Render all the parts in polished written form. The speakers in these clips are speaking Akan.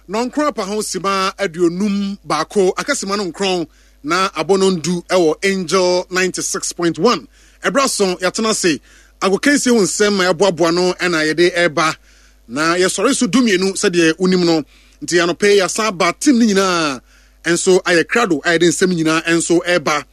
Nɔnkron apa ho sima 51, aka sima no 9 na abɔ no 10 wɔ Angel 96.1. Ɛberɛ aso yɛatena ase agokansie ho nsɛm ma yɛaboaboa no na yɛde ɛreba na yɛsɔre so 12 sɛdeɛ wonim no. Nti anɔpɛ yi yɛasan aba, team no nyinaa nso ayɛ krado a yɛde nsɛm nyinaa nso ɛreba.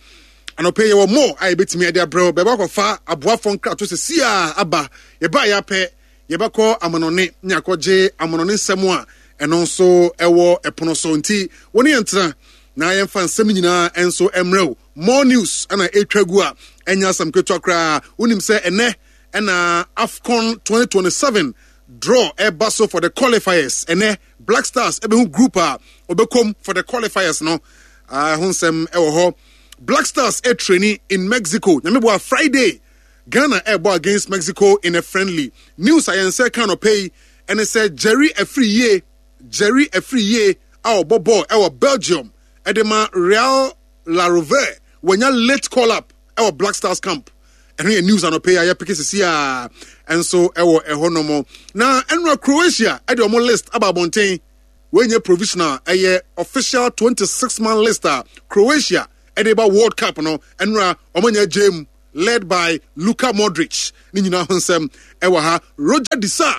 Anɔpɛ yi yɛwɔ more a yɛbɛtumi de abrɛ wo. Bɛba akɔfa aboafoɔ nkrato sɛsi a aba. Yɛbaa yɛapɛ yɛbɛkɔ amanɔne ne akɔgye amanɔne nsɛm a ɛno nso ɛwɔ ɛpono so. Nti wo ne yɛn tena na yɛmfa nsɛm nyinaa nso mmerɛ wo. More news ɛna ɛtwa gu a ɛnyɛ asɛm ketewa koraa. Wonim sɛ ɛnɛ ɛna AFCON 2027 draw ɛba so for the qualifiers. Ɛnɛ Black Stars ɛbɛhu group a ɔbɛkɔm for the qualifiers no. Ɛho nsɛm ɛwɔ hɔ. Black Stars ɛtraining in Mexico. Nyame boa, Friday Ghana ɛbɔ against Mexico in a friendly. News a yɛn nsa ka no pɛ yi ɛne sɛ Jerry Afriyie, Jerry Afriyie a ɔbɔ bɔɔl ɛwɔ Belgium ɛde ma Real La Rovere, wanya late call up ɛwɔ Black Stars camp. Ɛno yɛ news anɔpɛ yi a yɛpeke sisi a ɛnso ɛwɔ ɛhɔ nom. Na ɛnora Croatia ɛde ɔmo list aba abɔnten. Wɔnyɛ provisional, ɛyɛ official 26 man list a Croatia ɛde ba World Cup no. Ɛnora ɔmo anya gyem, led by Luka Modric. Ne nyinaa ho nsɛm ɛwɔ ha. Roger De Sa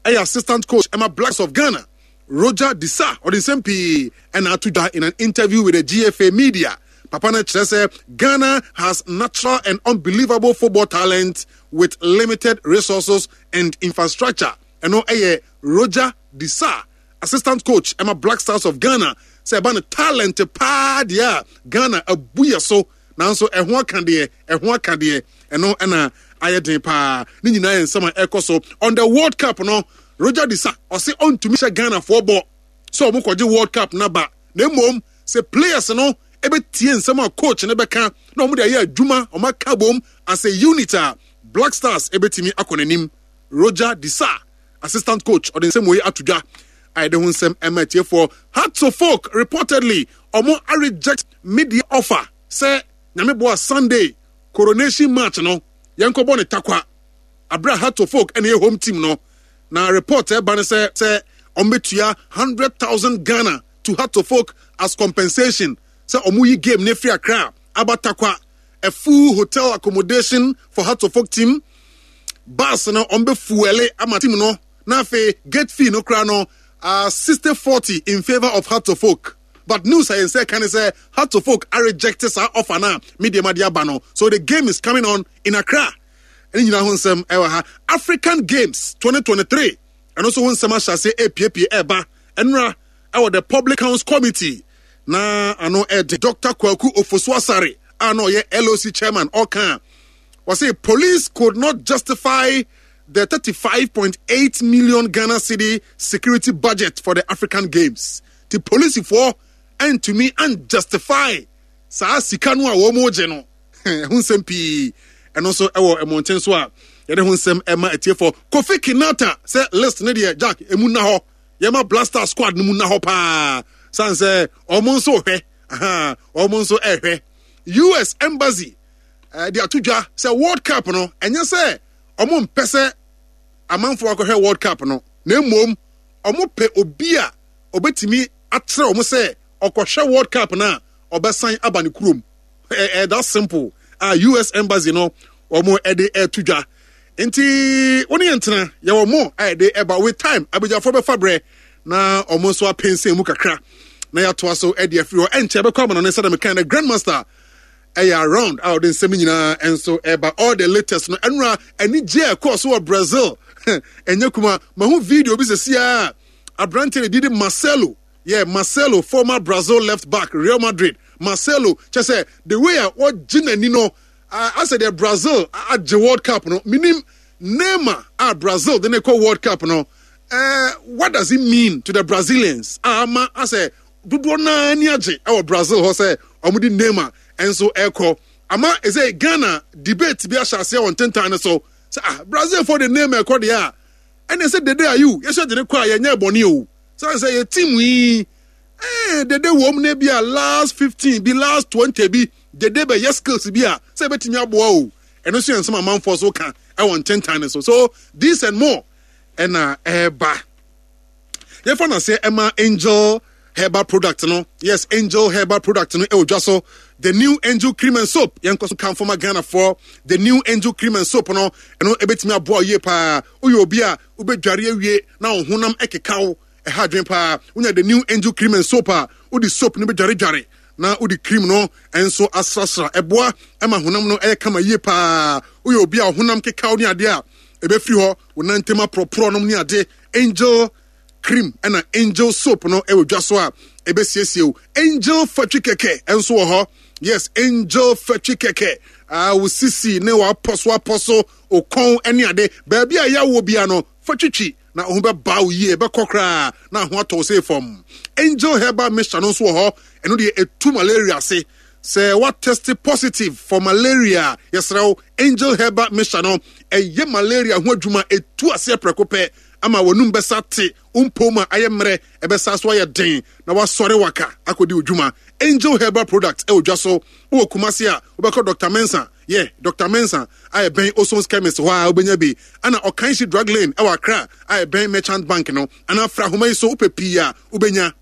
ɛyɛ assistant coach ɛma Blacks of Ghana. Roger De Sa ɔde nsɛm pii ɛna ato dwa in an interview with the GFA media. Papa no kyerɛ sɛ Ghana has natural and unbelievable football talent with limited resources and infrastructure. Ɛno ɛyɛ Roger De Sa, assistant coach ɛma Black Stars of Ghana, sɛ ɛba no talent paa deɛ a, Ghana abu yɛ so, nanso ɛho aka deɛ, ɛho aka deɛ, ɛno ɛna ayɛ den paa. Ne nyinaa yɛ nsɛm a ɛkɔ so on the World Cup no. Roger De Sa ɔse ɔntumi hyɛ Ghanafoɔ bɔ sɛ ɔmo kɔgye World Cup no aba, na mmom sɛ players no ɛbɛtie nsɛm a coach no bɛka na ɔmo de ayɛ adwuma, ɔmo aka bom as a unit a, Black Stars ɛbɛtumi akɔ n'anim. Roger De Sa, assistant coach, ɔde nsɛm wei ato dwa a yɛde ho nsɛm ɛma atiefoɔ. Hearts of Oak reportedly ɔmo reject media offer sɛ Nyame boa, Sunday coronation match no yɛnkɔbɔ ne Takwa abere a Hearts of Oak ɛna ɛyɛ home team no. Na report ɛba no sɛ ɔmo bɛtua 100,000 Ghana to Hearts of Oak as compensation sɛ ɔmo yi game ne firi Accra aba Takwa, a full hotel accommodation for Hearts of Oak team, bus no ɔmo bɛ fuel ama team no, na afei gate fee no koraa no 60-40 in favour of Hearts of Oak. But news a yɛn nsa ka ne sɛ Hearts of Oak a reject saa offer na media ma de aba no, so the game is coming on in Accra. Ɛne nyinaa ho nsɛm ɛwɔ ha. African Games 2023 ɛno nso ho nsɛm ahyɛ ase epiepie ɛba. Ɛnora ɛwɔ the Public Accounts Committee na ano ɛde Dr. Kwaku Ofosu Asare a na ɔyɛ LOC chairman ɔka wɔse police could not justify the 35.8 million Ghana cedi security budget for the African Games. Ti polisifoɔ ntumi unjustify saa sika no a wɔn gye no. Ɛho nsɛm pii ɛno nso ɛwɔ mmɔnten so a yɛde ho nsɛm ɛma atiefoɔ. Kofi Kinata sɛ list ne deɛ Jack emu na hɔ, yɛma Blaster squad no mu na hɔ paa san sɛ wɔn nso hwɛ, wɔn nso ɛhwɛ. US Embassy de ato dwa sɛ World Cup no, ɛnyɛ sɛ wɔn mpɛ sɛ amanfoɔ akɔhwɛ World Cup no, na mmom wɔn pɛ obi a ɔbɛtumi akyerɛ wɔn sɛ ɔkɔhwɛ World Cup no a, ɔbɛsan aba ne kurom. Ɛɛ that simple a US Embassy no wɔn ɛde ɛto dwa. Nti wɔn yɛn tena yɛwɔ mo a yɛde ɛba with time. Abadwafoɔ bɛfa brɛ na wɔn nso apɛnsɛn mu kakra na yɛatoa so ɛde afiri hɔ. Ɛnkyɛ bɛkɔ amana no sɛdeɛ mekan no, Grandmaster ɛyɛ around a ɔde nsɛm nyinaa nso ɛba, all the latest no. Ɛnora anigye a ɛkɔɔ so wɔ Brazil ɛnyɛ kuma. Mahu video bi sɛsi a aberante ne didi Marcelo, yeah, Marcelo, former Brazil left back, Real Madrid. Marcelo kyɛ sɛ the way a wɔgye n'ani no asɛ deɛ Brazil agye World Cup no. Menim Neymar a Brazil de ne kɔ World Cup no, what does it mean to the Brazilians a ama asɛ dodoɔ naa ani agye ɛwɔ Brazil hɔ sɛ wɔn de Neymar nso ɛkɔ ama ɛsɛ Ghana debate bi ahyɛ aseɛ wɔ ntentan no so sɛ ah, Brazil fo de Neymar ɛkɔ deɛ a, ɛna ɛsɛ Dede Ayew yɛsɛ de ne kɔ a yɛnyɛ bɔne o, sɛ yɛ team yi Dede wɔm ne bi a last 15 bi, last 20 bi, Dede bɛyɛ skills bi a sɛ ɛbɛtumi aboa o. Ɛno nso yɛ nsɛm amanfoɔ so ka ɛwɔ ntentan no so. So this and more ɛna ɛɛba. Yɛmfa no aseɛ ɛma Angel Herbal product no. Yes, Angel Herbal product no ɛwɔ dwa so. The new Angel cream and soap. Yɛnkɔ so kamfo ma Ghanafoɔ. The new Angel cream and soap no, ɛno ɛbɛtumi aboa wo yie paa. Woyɛ obi a wobɛdware awie na wo honam ɛkeka wo, ɛha adwene paa. Wonya the new Angel cream and soap a, wode soap no bɛdwaredware na wode cream no nso asrasra. Ɛboa ma honam no ɛyɛ kama yie paa. Woyɛ obi a wo honam keka wo ne adeɛ a, ɛbɛfiri hɔ, wo nan ntam aporɔporɔ nom ne ade. Angel cream ɛna Angel soap no ɛwɔ dwa so a ɛbɛsiesie wo. Angel fatwi kɛkɛ nso wɔ hɔ. Yes, Angel fatwi kɛkɛ. Ah, wo sisi ne w'apɔso apɔso, wo kɔn ne ade. Baabi a yɛawɔ bia no, fa twitwi na wo ho bɛba wo yie, ɛbɛkɔ koraa na ho atɔ wo sei fam. Angel herbal mixture no nso wɔ hɔ. Ɛno deɛ ɛtu malaria ase. Sɛ woatɛste positive for malaria a, yɛsrɛ wo, Angel Herbal Mixture no, ɛyɛ malaria ho adwuma, ɛtu aseɛ prɛko pɛ ama w'anum bɛsa te, wo mpom a ayɛ mmerɛ ɛbɛsa so ayɛ den na woasɔre waka akɔdi wo dwuma. Angel Herbal Product ɛwɔ dwa so. Wowɔ Kumasi a, wobɛkɔ Doctor Mensah, yɛ Doctor Mensah a ɛbɛn Oson's Chemist hɔ a wobɛnya bi, ɛna Ɔkanhyi Drug Lane ɛwɔ Accra a ɛbɛn Merchant Bank no, anaa fra ahoma yi so wopɛ pii a wobɛnya.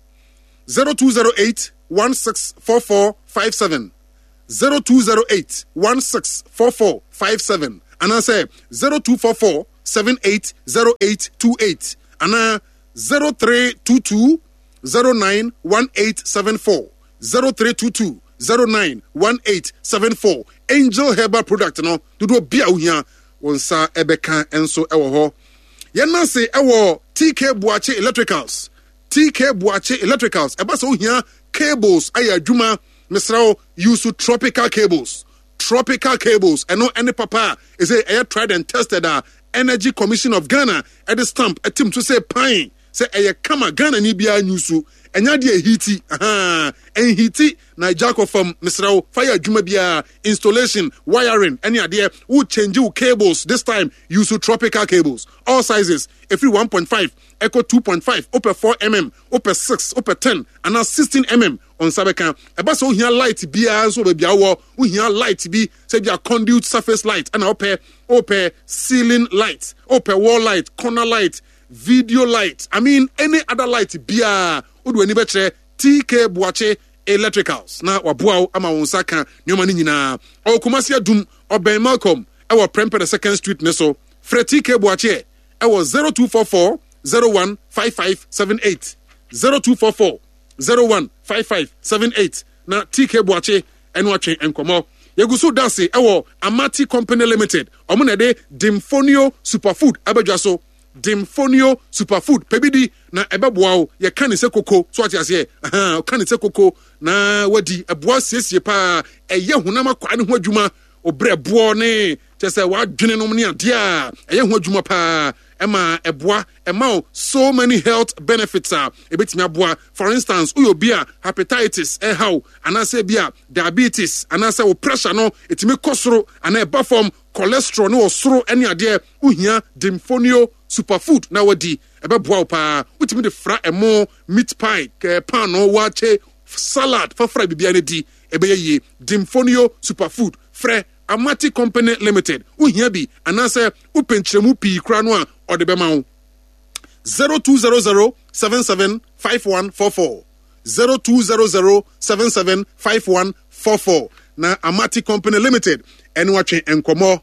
0208 164457 0208 164457 anaasɛ 0244 780828 anaa 0322 091874 0322 091874. Angel Herbal product no dodoɔ bi a wohia wo nsa ɛbɛka nso ɛwɔ hɔ. Yɛn ase ɛwɔ TK Boakye Electricals. TK Boakye Electricals, ɛba sɛ wohia cables ayɛ adwuma, mesrɛ wo use tropical cables. Tropical cables, ɛno ɛne papa a ɛsɛ ɛyɛ tried and tested a Energy Commission of Ghana ɛde stamp ɛtim so sɛ pan sɛ ɛyɛ kama Ghana ni biara nyusu. Ɛnyɛ adeɛ ɛhiti, ahaa, ɛnhiti na agya akɔ fam. Mesrɛ wo fa yɛ adwuma biara, installation, wiring ɛne adeɛ. Wo change wo cables this time, use tropical cables, all sizes, ɛfiri 1.5 ɛkɔ 2.5, wopɛ 4 mm, wopɛ 6, wopɛ 10 anaa 16 mm, wo nsa bɛka. Ɛba sɛ wohia light biara nso wɔ baabi a wowɔ, wohia light bi sɛ bi a conduit surface light ɛna wopɛ, wopɛ ceiling light, wopɛ wall light, corner light, video light, I mean any other light biara, wode w'ani bɛkyerɛ TK Boakye Electricals na waboa wo ama wo nsa ka nneɛma no nyinaa. Ɔwɔ Kumasi Adum, ɔbɛn Malcolm ɛwɔ Prempeh the Second Street ne so. Frɛ TK Boakye ɛwɔ 0244 01 5578, 0244 01 5578 na TK Boakye ɛno atwe nkɔmmɔ. Yɛgu so da ase ɛwɔ Amati Company Limited. Ɔmo na ɛde Dimfonio Superfood abɛdwa so. Dimfonio Superfood, pɛ bi di na ɛbɛboa wo. Yɛka ne sɛ koko, so ate aseɛ? Ahaa, ɔka ne sɛ koko na wadi. Ɛboa siesie paa, ɛyɛ honam akwaa ne ho adwuma. Obrɛboɔ ne kyɛ sɛ w'adwene nom ne adeɛ a ɛyɛ ho adwuma paa, ɛma ɛboa, ɛma wo so many health benefits a ɛbɛtumi aboa. For instance, woyɛ obi a hepatitis ɛha wo, anaasɛ bi a diabetes, anaasɛ wo pressure no ɛtumi kɔ soro anaa ɛba fam, cholesterol no wɔ soro ne adeɛ, wohia Dimfonio Superfood na wadi, ɛbɛboa wo paa. Wotumi de fra ɛmo, meat pie, paano, waakye, salad, fafra biribiara no di, ɛbɛyɛ yie. Dimfonio Superfood, frɛ Amati Company Limited, wohia bi anaasɛ wopɛ nkyerɛmu pii koraa no a, ɔde bɛma wo. 0200 77 5144, 0200 77 5144 na Amati Company Limited ɛne watwe nkɔmmɔ.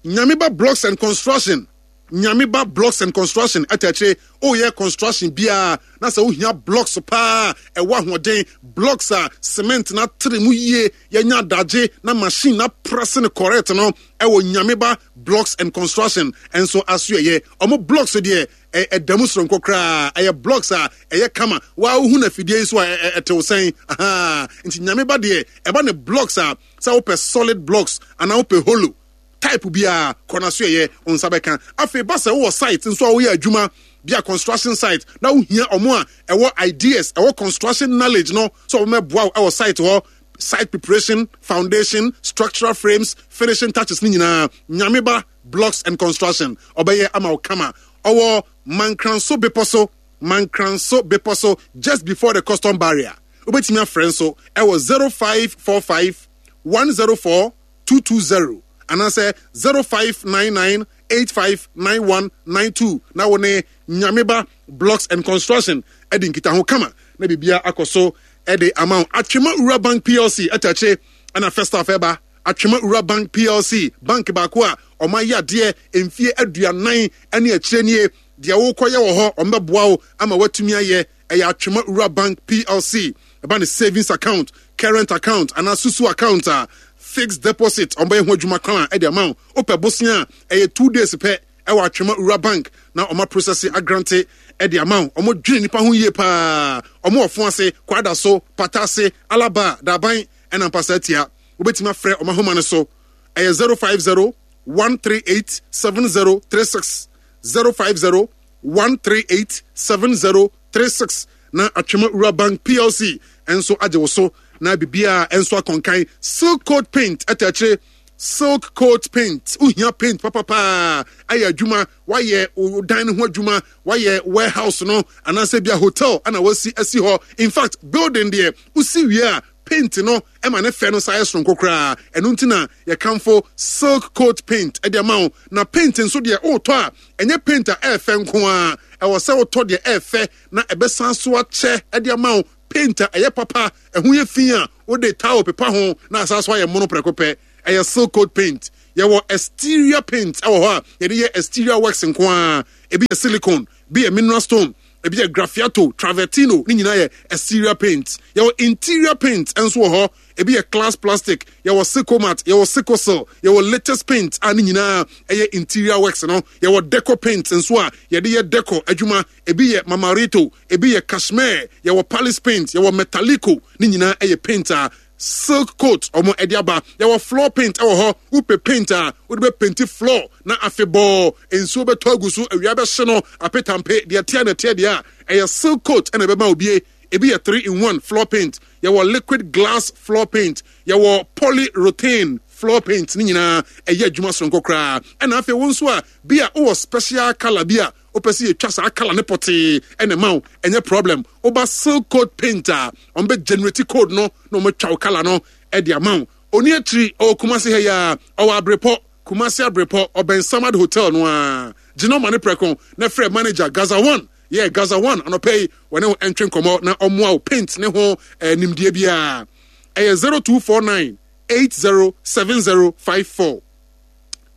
Nyameba Blocks and Construction, Nyameba Blocks and Construction ɛta akyire, woyɛ construction biara na sɛ wohia blocks paa ɛwɔ ahoɔden, blocks a cement na atere mu yie, yɛnya adagye na machine na press no correct no, ɛwɔ Nyameba Blocks and Construction nso asoɛyɛ. Ɔmo blocks deɛ ɛda mu soronko koraa, ɛyɛ blocks a ɛyɛ kama. Waa wohu na afidie yi so a ɛtew sɛn. Ahaa, nti Nyameba deɛ ɛba ne blocks a, sɛ wopɛ solid blocks anaa wopɛ hollow type biara, kɔ n'asoɛyɛ, wo nsa bɛka. Afei ba sɛ wowɔ site nso a woyɛ adwuma bi a construction site na wohia ɔmo a ɛwɔ ideas, ɛwɔ construction knowledge no sɛ ɔmo mɛboa wo ɛwɔ site hɔ, site preparation, foundation, structural frames, finishing touches ne nyinaa, Nyameba Blocks and Construction ɔbɛyɛ ama wo kama. Ɔwɔ Mankranso bepɔ so, Mankranso bepɔ so, just before the custom barrier. Wobɛtumi afrɛ nso ɛwɔ 0545 104 220 anaasɛ 0599. 859192 na wo ne Nyameba Blocks and Construction adi nkitaho kama na biribiara akɔ so de ama wo. Atwema Rural Bank PLC ɛta akyire ɛna first half ɛba. Atwema Rural Bank PLC, bank baako a wɔayɛ adeɛ mfie aduanan ne akyire nie. Deɛ wokɔyɛ wɔ hɔ, wɔbɛboa wo ama woatumi ayɛ. Ɛyɛ Atwema Rural Bank PLC. Ɛba ne savings account, current account anaa susu account a, fixed deposit, wɔbɛyɛ ho adwuma kama de ama wo. Wopɛ bosea a, ɛyɛ 2 days pɛ ɛwɔ Atwema Rural Bank na wɔn aprocess agrant de ama wo. Wɔn dwene nipa ho yie paa. Wɔn wɔ fo ase, Kwada so, Pata ase, Alaba, Daban ɛna Mpasa Atia. Wobɛtumi afrɛ wɔn ahoma no so. Ɛyɛ 050 138 7036, 050 138 7036 na Atwema Rural Bank PLC nso agye wo so na biribiara nso akɔnkan. Silk Coat Paint ɛta akyire. Silk Coat Paint, wohia paint papapaa ayɛ adwuma, wayɛ wo dan no ho adwuma, wayɛ warehouse no anaasɛ bia hotel ana wasi asi hɔ. In fact, building deɛ wosi wie a, paint no ɛma ne fɛ no sa yɛ soronko koraa. Ɛno nti na yɛkamfo Silk Coat Paint ɛde ama wo. Na paint nso deɛ, wotɔ a, ɛnyɛ paint a ɛɛfɛ nko a, ɛwɔ sɛ wotɔ deɛ ɛɛfɛ na ɛbɛsan so akyɛ ɛde ama wo. Paint a ɛyɛ papa, ɛho yɛ fi a, wode towel pepa ho na asan so ayɛ mono prɛko pɛ. Ɛyɛ Silk Coat Paint. Yɛwɔ exterior paint ɛwɔ hɔ a yɛde yɛ exterior works nko a. Ebi yɛ silicone, bi yɛ mineral stone, ebi yɛ graffiato, travertino, ne nyinaa yɛ exterior paint. Yɛwɔ interior paint nso wɔ hɔ. Ebi yɛ glass plastic, yɛwɔ sicomat, yɛwɔ sicosil, yɛwɔ latest paint a ne nyinaa ɛyɛ interior works no. Yɛwɔ deco paint nso a yɛde yɛ deco adwuma. Ebi yɛ mamarito, ebi yɛ cashmere, yɛwɔ palace paint, yɛwɔ metalico, ne nyinaa ɛyɛ paint a Silk Coat ɔmo ɛde aba. Yɛwɔ floor paint ɛwɔ hɔ. Wopɛ paint a wode bɛ painti floor na afebɔɔ nsuo bɛtɔ agu so, awia bɛhye no apetampe, deɛ ɛteɛ na ɛteɛ deɛ a, ɛyɛ Silk Coat ɛna ɛbɛma obie. Ebi yɛ 3 in 1 floor paint, yɛwɔ liquid glass floor paint, yɛwɔ polyurethane floor paint, ne nyinaa ɛyɛ adwuma soronko koraa. Ɛna afei wo nso a bi a wowɔ special colour bi a wopɛ sɛ yɛtwa saa colour ne pɔtee ɛna ɛma wo, ɛnyɛ problem. Woba Silk Coat Paint a, wɔn bɛ generate code no na wɔn atwa wo colour no ɛde ama wo. Oni akyiri ɔwɔ Kumasi ha yi a, ɔwɔ Abrepɔ, Kumasi Abrepɔ, ɔbɛn Samad Hotel no a. Gyina ɔma ne prɛko na frɛ manager Gaza One. Yɛ Gaza One anɔpɛ yi, wɔne wo ɛntwe nkɔmmɔ na ɔmmoa wo paint ne ho eh, nimdeɛ biara. Ɛyɛ 0249 807054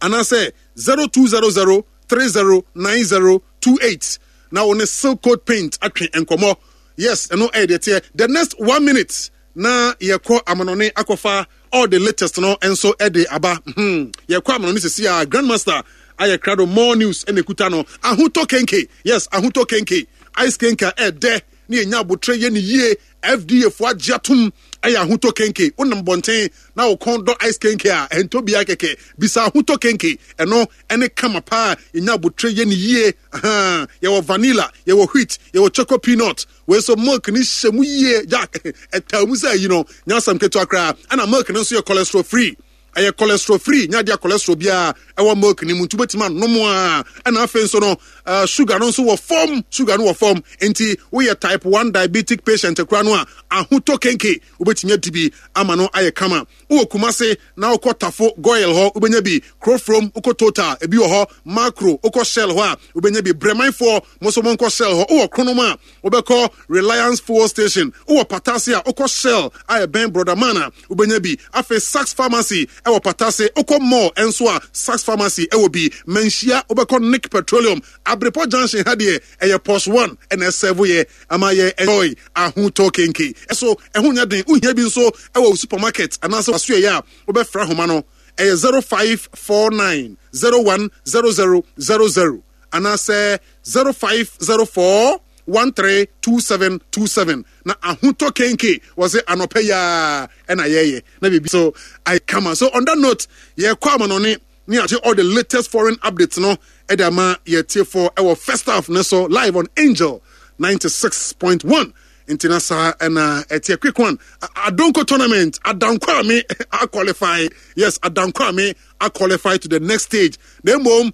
anaasɛ 0200 309028 na wo ne Silk Coat Paint atwe nkɔmmɔ. Yes, ɛno ɛyɛ deɛ teɛ. The next one minute na yɛkɔ amanɔne akɔfa all the latest no nso ɛde aba. Yɛkɔ amanɔne sisi a, Grandmaster ayɛ krado, more news ɛna ekuta no. Ahotɔ kenke, yes, ahotɔ kenke, ice kenke a ɛdɛ ne yɛnya abotrɛ yɛ ne yie. FDA fo agye atom, ɛyɛ ahotɔ kenke. Wonam bɔnten na wo kɔn dɔ ice kenke a, ɛntɔ biara kɛkɛ, bisa ahotɔ kenke. Ɛno ɛne kama paa, yɛnya abotrɛ yɛ ne yie. Ahaa, yɛwɔ vanilla, yɛwɔ wheat, yɛwɔ choco peanut. Wei so milk ne hyɛ mu yie, Jack, ɛtaa mu sɛ ayi no nyɛ asɛm ketewa koraa. Ɛna milk no nso yɛ cholesterol free, ɛyɛ cholesterol free, nyɛ adeɛ a cholesterol biara ɛwɔ milk no mu, nti wobɛtumi anom a. Ɛna afei nso no sugar no nso wɔ fam, sugar no wɔ fam, nti woyɛ type 1 diabetic patient koraa no a, ahotɔ kenke wobɛtumi adi bi ama no ayɛ kama. Wowɔ Kumase na wokɔ Tafo Goil hɔ, wobɛnya bi. Kurofrom wokɔ Total, ebi wɔ hɔ. Makro wokɔ Shell hɔ a, wobɛnya bi. Brɛmanfoɔ mo nso monkɔ Shell hɔ. Wowɔ Kronom a, wobɛkɔ Reliance Fuel Station. Wowɔ Patase a, wokɔ Shell a ɛbɛn Brɔdaman a, wobɛnya bi. Afei Saks Pharmacy ɛwɔ Patase. Wokɔ Mall nso a, Saks Pharmacy ɛwɔ bi. Manhyia wobɛkɔ Nick Petroleum. Abrepɔ Junction ha deɛ, ɛyɛ Pos One ɛna ɛsɛvo yɛ ama yɛ enjoy ahotɔ kenke. Ɛso ɛho nyɛ den. Wohia bi nso ɛwɔ wo supermarket anaasɛ wasoɛyɛ a, wobɛfrɛ ahoma no. Ɛyɛ 0549 010000 anaasɛ 0504 132727 na ahotɔ kenke wɔ se anɔpɛ yaa ɛna yɛyɛ na biribi so ayɛ kama. So on that note, yɛkɔ amanɔne ne agye all the latest foreign updates no ɛde ama yɛtiefoɔ ɛwɔ first half ne so live on Angel 96.1. Nti na saa ɛna ɛteɛ. Quick one, Adonko tournament, Adankwame a qualify. Yes, Adankwame a qualify to the next stage, na mmom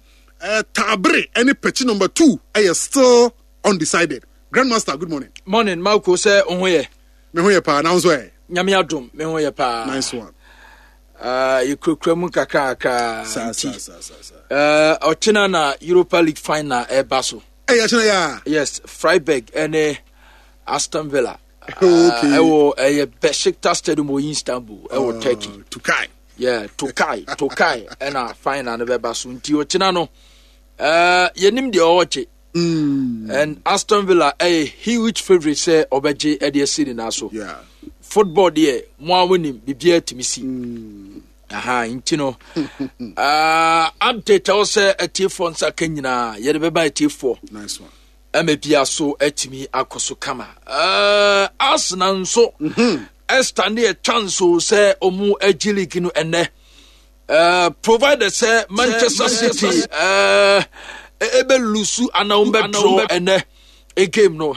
Taabere ɛne Pɛkyi number 2 ɛyɛ still undecided. Grandmaster, good morning. Morning, Marco, sɛ wo ho yɛ? Me ho yɛ paa, na wo nso ɛ? Nyame adom, me ho yɛ paa. Nice one. Yɛkurakura mu kakrakra nti ɔkyena na Europa League final ɛba so. Ɛyɛ ɔkyena yɛ a? Yes, Freiburg ɛne Aston Villa. Okay. Ɛwɔ ɛyɛ Besiktas Stadium wɔ Istanbul ɛwɔ Turkey. Tokai. Yeah, Tokai, Tokai ɛna final no bɛba so nti ɔkyena no yɛnim deɛ ɔɔgye. And Aston Villa ɛyɛ huge favourite sɛ ɔbɛgye ɛde asi ne nan so. Yeah. Football deɛ mo a wonim biribiara tumi si. Aha nti no update ɛwɔ sɛ atiefoɔ nsa ka nyinaa yɛde bɛba atiefoɔ. Nice one. Ɛma bia so atumi akɔ so kama. Arsenal nso ɛstande a chance o sɛ ɔmo agye league no ɛnɛ. Provided sɛ Manchester City ebe lusu anaa wɔn bɛ draw ɛnɛ game no.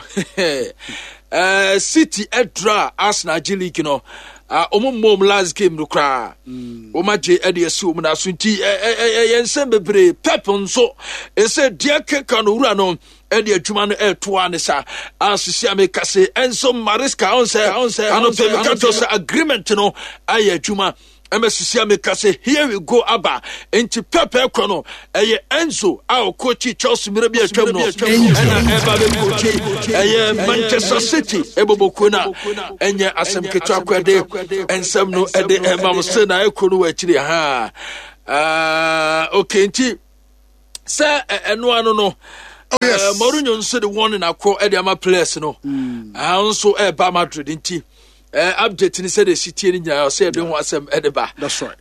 City ɛdra Arsenal agye league no. Wɔn mmɔ wɔn last game no koraa. Wɔn agye ɛde asi wɔn na so nti ɛyɛ nsɛm bebree. Pep nso ɛsɛ deɛ keka no wura no ɛde adwuma no ɛretoa ne sa asisi a meka se Enzo Maresca ɔn sɛ anɔpɛ meka kyerɛ sɛ agreement no ayɛ adwuma. Ɛma sisi a meka sɛ here we go aba nti pɛpɛ kɔ no ɛyɛ Enzo a ɔkɔkyi Chelsea mmerɛ bi atwam no ɛna ɛba bɛkɔkyi ɛyɛ Manchester City ɛbɔbɔkuo no a ɛnyɛ asɛm ketewa kɔ ɛde nsɛm no ɛde ɛma mo sɛ na ɛkɔ no wɔ akyiri ha. Okay, nti sɛ ɛno ano no. Oh, yes. Mourinho nso de wɔn na akɔ ɛde ama players no. Nso ɛba Madrid nti. Update ni sɛdeɛ ɛsi tie no nyinaa ɔsɛ yɛde ho asɛm ɛde ba. That's right.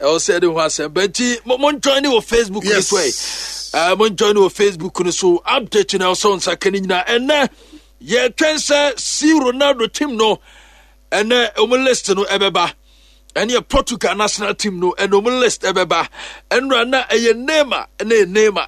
Ɛwɔ sɛ yɛde ho asɛm ba nti mo join ne wɔ Facebook no so ɛ. Mo join ne wɔ Facebook no so update na ɔsɛ nsa ka no nyinaa. Ɛnɛ yɛtwɛn sɛ si Ronaldo team no ɛnɛ wɔn list no ɛbɛba. Ɛne yɛ Portugal national team no ɛna wɔn list ɛbɛba. Ɛnura na ɛyɛ Neymar ɛna ɛyɛ Neymar.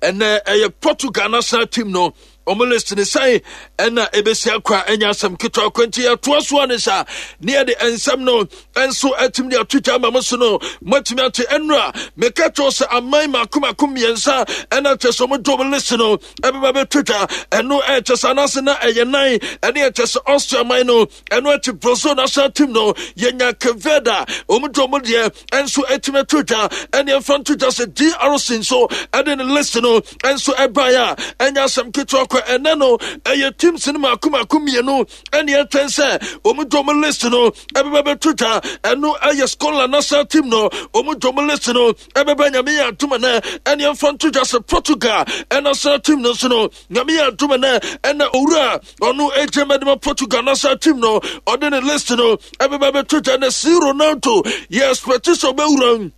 Ɛnɛ ɛyɛ Portugal national team no wɔn list ne sɛn ɛna ebesi akɔ a ɛnyɛ asɛm ketewa kɔ nti yɛtoa so ne sa ne yɛde nsɛm no nso atumi de ato dwa ama mo so no moatumi ate ɛnura meka kyerɛw sɛ aman mako mako mmiɛnsa ɛna kyɛ sɛ wɔn de wɔn list no ɛbɛba bɛto dwa ɛno ɛkyɛ sɛ anaasɛ na ɛyɛ nan ɛne ɛkyɛ sɛ Austria man no ɛno akyi Brazil national team no yɛnya Cape Verde a wɔn de wɔn deɛ nso atumi ato dwa ɛne ɛmfa nto dwa sɛ DRC nso ɛde ne list no nso ɛbaeɛ a ɛnyɛ asɛm ketewa kɔ ɛnɛ no ɛyɛ teams no mako mako mmienu ɛne ɛtwɛn sɛ wɔn de wɔn list no ɛbɛba bɛto dwa ɛno ɛyɛ Scotland national team no wɔn de wɔn list no ɛbɛba Nyame yɛ adom ɛnɛ ɛne ɛmfa nto dwa sɛ Portugal national team no nso no Nyame yɛ adom ɛnɛ ɛna owura ɔno agya mɛdema Portugal national team no ɔde ne list no ɛbɛba bɛto dwa na si Ronaldo yɛ expect sɛ ɔbɛwura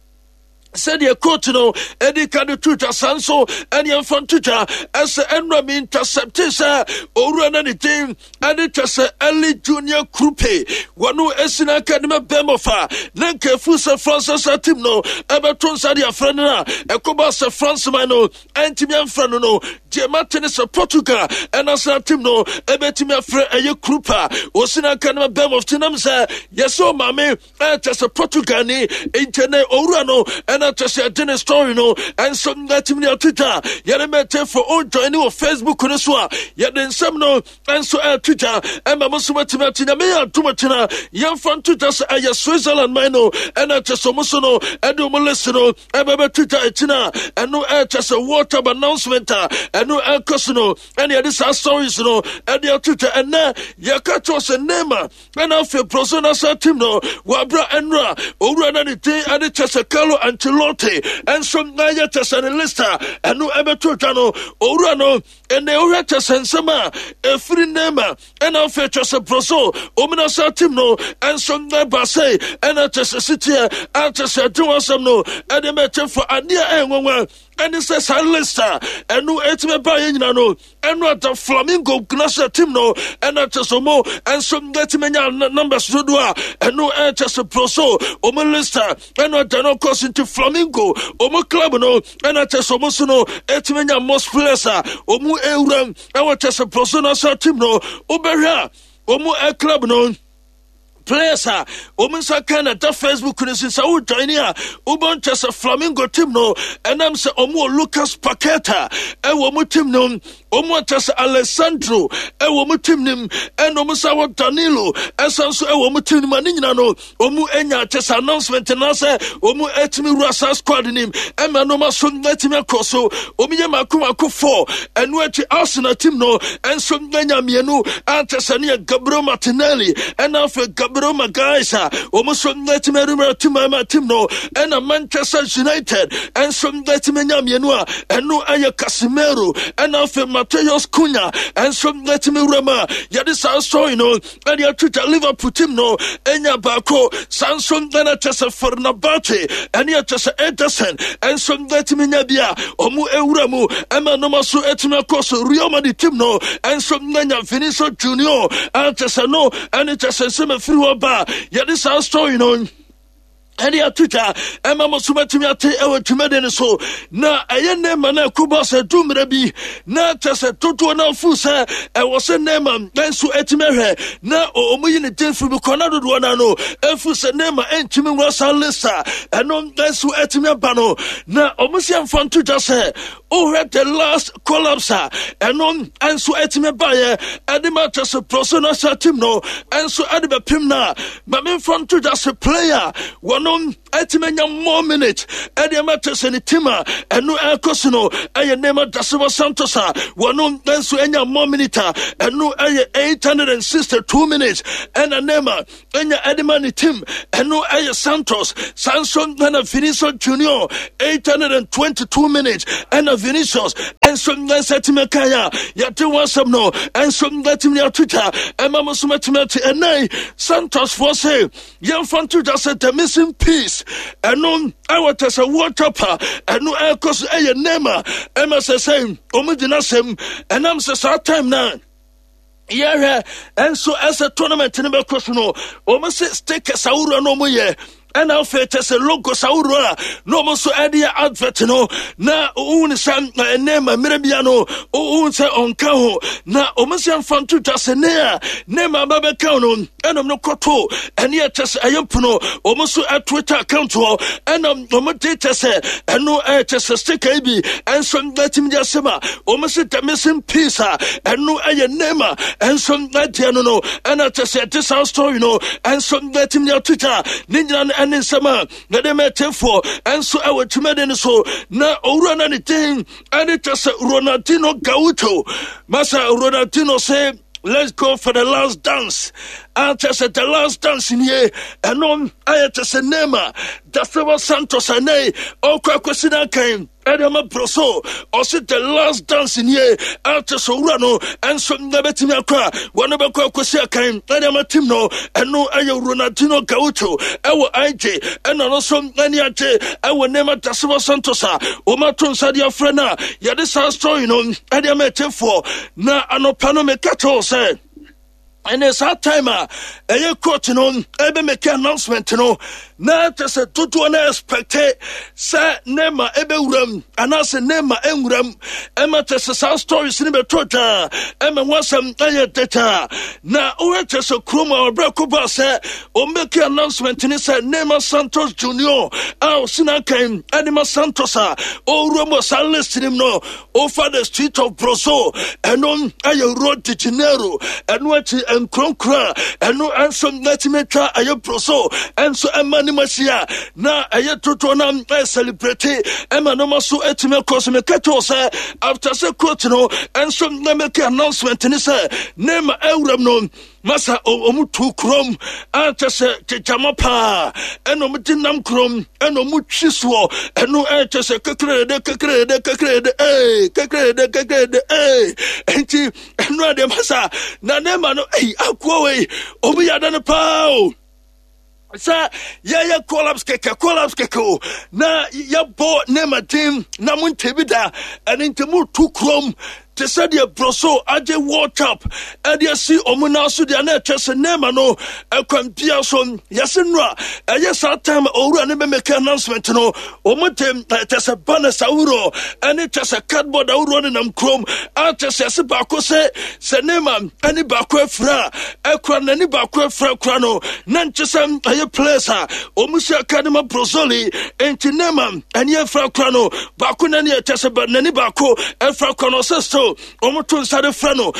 sɛdeɛ coach no ɛde ka de to dwa saa nso ɛne ɛmfa nto dwa ɛsɛ ɛnura mi intercepte sɛ owura na ne din ɛde kyɛ sɛ Eli Junior Krupe wɔno esi n'aka de ma bɛmɔfa ne nkaefu sɛ France national team no ɛbɛto nsa de afrɛ no a ɛkɔba sɛ France man no ɛntumi amfrɛ no no deɛ mate ne sɛ Portugal national team no ɛbɛtumi afrɛ ɛyɛ Krupe a wɔsi n'aka de ma bɛmɔf nam sɛ yɛsɛ ɔmaame ɛkyɛ sɛ Portugal ni nkyɛ ne owura no ɛna kyɛ sɛ ɛde ne story no ɛnso natumi de ato dwa yɛne mɛte fo o join wɔ Facebook no so a yɛde nsɛm no ɛnso ɛto dwa ɛma mo nso matumi ate Nyame yɛ adom akyina yɛmfa nto dwa sɛ ɛyɛ Switzerland man no ɛna kyɛ sɛ ɔmo so no ɛde ɔmo list no ɛbɛbɛto dwa akyina ɛno ɛkyɛ sɛ World Cup announcement a ɛno ɛkɔ so no ɛne yɛde saa stories no ɛde ato dwa ɛnɛ yɛka kyerɛ sɛ Neymar ɛna afei Brazil national team no wɔabra ɛnora owura na ne din ɛde kyɛ sɛ Carlo Ancelotti ɛnso na yɛ kyɛ sɛ ne list a ɛno ɛbɛto dwa no owura no ɛnɛ wohwɛ kyɛ sɛ nsɛm a ɛfiri Neymar ɛna afei kyɛ sɛ Brazil wɔn national team no ɛnso na ɛba sɛ ɛna kyɛ sɛ siteɛ akyɛ sɛ ɛde wɔn asɛm no ɛde mɛkyɛ fa adeɛ a ɛnwanwa ɛne sɛ saa list a ɛno ɛtumi ba yɛ nyina no ɛno ada Flamingo national team no ɛna kyɛ sɛ ɔmo ɛnso ɛtumi nya numbers dodoɔ a ɛno ɛkyɛ sɛ Brazil ɔmo list a ɛno ada no kɔ so nti Flamingo ɔmo club no ɛna kyɛ sɛ ɔmo so no ɛtumi nya most players a ɔmo ewura ɛwɔ kyɛ sɛ Brazil national team no wobɛhwɛ a ɔmo club no. Players a wɔn nsa kan na ɛda Facebook no so sɛ wo join a wobɛn kyɛ sɛ Flamingo team no ɛnam sɛ wɔn wɔ Lucas Paqueta ɛwɔ wɔn team no wɔn akyɛ sɛ Alessandro ɛwɔ wɔn team no mu ɛna wɔn nsa wɔ Danilo ɛsan nso ɛwɔ wɔn team no mu a ne nyinaa no wɔn anya akyɛ sɛ announcement na sɛ wɔn atumi wura saa squad nim ɛma nneɛma so atumi akɔ so. Wɔn yɛ mako mako four. Ɛno akyi Arsenal team no nso anya mmienu akyɛ sɛ ne yɛ Gabriel Martinelli ɛna afei Gabriel Magalhaes a wɔn nso atumi awura team ama team no. Ɛna Manchester United nso atumi anya mmienu a ɛno ɛyɛ Casemiro ɛna afei Matheus Cunha nso atumi wura mu a yɛde saa story no ɛde ato dwa. Liverpool team no ɛnya baako saa nso ɛna kyɛ sɛ Fenerbahce ɛne ɛkyɛ sɛ Ederson ɛnso ɛtumi nya bi a ɔmo ewura mu ɛma nneɛma so ɛtumi akɔ so. Real Madrid team no ɛnso ɛnya Vinicius Junior ɛkyɛ sɛ no ɛne kyɛ sɛ nsɛm afiri hɔ ba yɛde saa story no ɛde ato dwa ɛma mo so matumi ate ɛwɔ dwumadi no so. Na ɛyɛ Neema no ɛkoba sɛ du mmerɛ bi na kyɛ sɛ dodoɔ no afu sɛ ɛwɔ sɛ Neema nso atumi ahwɛ na ɔmo yi ne din firi bi kɔ na dodoɔ no ano ɛfu sɛ Neema ɛntumi nwura saa list a ɛno nso atumi aba no. Na ɔmo si ɛmfa nto dwa sɛ wohwɛ the last collapse a ɛno nso atumi baeɛ ɛde ma kyɛ sɛ Brazil national team no ɛnso ɛde bɛpem no a ma memfa nto dwa sɛ player wɔno atumi anya more minute ɛde ama kyɛ sɛ ne team a ɛno ɛkɔ so no ɛyɛ Neymar da Silva Santos a wɔno nso anya more minute a ɛno ɛyɛ 862 minutes ɛna Neymar ɛnya ɛde ma ne team ɛno ɛyɛ Santos. Saa nso ɛna Vinicius Junior 822 minutes ɛna Vinicius ɛnso nsa tumi kan a yɛde wɔn asɛm no ɛnso nsa ato dwa ɛma mo nso mɛtumi ate. Ɛnan Santos foɔ sɛ yɛmfa nto dwa sɛ the missing piece ɛno ɛwɔ kyɛ sɛ World Cup a ɛno ɛkɔ so ɛyɛ Neymar ɛma sɛ sɛ wɔn gyina asɛm ɛnam sɛ saa time na yɛhwɛ ɛnso ɛsɛ tournament no bɛkɔ so no wɔn sɛ stickers ahodoɔ na wɔn yɛ ɛna afei kyɛ sɛ logos ahodoɔ a na wɔn nso ɛde yɛ advert no na ohun sɛ Neema mmerɛ bia no ohun sɛ ɔnka ho na wɔn sɛ mfa nto dwa sɛ ne a Neema aba bɛka no ɛnam no kɔto ɛne ɛkyɛ sɛ ɛyɛ mpono wɔn nso Twitter account hɔ ɛna wɔn de kyɛ sɛ ɛno ɛkyɛ sɛ sticker yi bi ɛnso ɛtumi de asɛm a wɔn sɛ the missing piece a ɛno ɛyɛ Neema ɛnso ɛdeɛ no ɛna kyɛ sɛ ɛde saa story no ɛnso ɛtumi de ato dwa ne nyinaa no ɛne nsɛm a yɛde mɛtefoɔ ɛnso ɛwɔ dwumadi no so. Na owura no ne din ɛne kyɛ sɛ Ronaldinho Gaucho. Masa Ronaldinho sɛ let's go for the last dance. Akyɛ sɛ the last dance nie ɛno ayɛ kyɛ sɛ Neymar da Silva Santos ɛnɛ ɔkɔ akɔsi no akan ɛde ama Brazil. Ɔse the last dance nie akyɛ sɛ owura no ɛnso ɛbɛtumi akɔ a wɔne bɛkɔ akɔsi akan ɛde ama team no. Ɛno ɛyɛ Ronaldinho Gaucho ɛwɔ IG ɛna no nso ɛne agye ɛwɔ Neymar da Silva Santos a wɔmato nsa de afrɛ no a yɛde saa story no ɛde ama ɛkyɛfoɔ. Na anɔpa no meka kyerɛw sɛ ɛne saa time a ɛyɛ coach no ɛbɛ make announcement no na kyɛ sɛ dodoɔ no expect sɛ Neymar ɛbɛwuram anaasɛ Neymar ɛnwuram ɛma kyɛ sɛ saa stories no bɛtɔ dwaa ɛma ho asɛm ɛyɛ dɛtaa. Na wohwɛ kyɛ sɛ kurom a ɔbrɛ ko baa sɛ ɔmmɛki announcement ne sɛ Neymar Santos Junior a ɔsi n'akan ɛde ma Santos a ɔwura mu wɔ saa list nim no over the street of Brazil ɛno ɛyɛ Rio de Janeiro. Ɛno akyi nkuronkuro a ɛno nso n'atumi atwa ɛyɛ Brazil ɛnso ɛma ne mu ahyia na ɛyɛ dodoɔ no ɛyɛ celebrate ɛma nneɛma so atumi akɔ so. Meka kyerɛw sɛ after sɛ coach no ɛnso na make announcement ne sɛ Neymar awuram no masa ɔmo tu kurom akyɛ sɛ kyekyama paa ɛna ɔmo de nam kurom ɛna ɔmo twi soɔ ɛno ɛkyɛ sɛ kekerede kekerede kekerede ee kekerede kekerede ee nti ɛno adeɛ masa na Neymar no ɛyi akoa wei ɔmo yɛ ada no paa o sɛ yɛyɛ collapse kɛkɛ collapse kɛkɛ o na yɛbɔ Neymar din na mo nte bi da ɛne nti mo tu kurom. Te sɛ deɛ Broso agye World Cup de asi wɔn nan so deɛ, na ɛkyɛ sɛ Neymar no ɛkwan bia so yɛse no a ɛyɛ saa time a owura ne bɛmɛka announcement no, wɔn de kyɛ sɛ banners ahoroɔ ɛne kyɛ sɛ cardboard ahoroɔ nenam kurom a kyɛ sɛ yɛse baako sɛ Neymar ɛne baako afira a ɛkura n'ani baako afira kura no na nkyɛ sɛ ɛyɛ players a wɔn si aka ne ma Brozoli nti Neymar ɛne afira kura no baako n'ani ɛkyɛ sɛ n'ani baako afira kura no ɔsɛ still wɔn to nsa de frɛ no.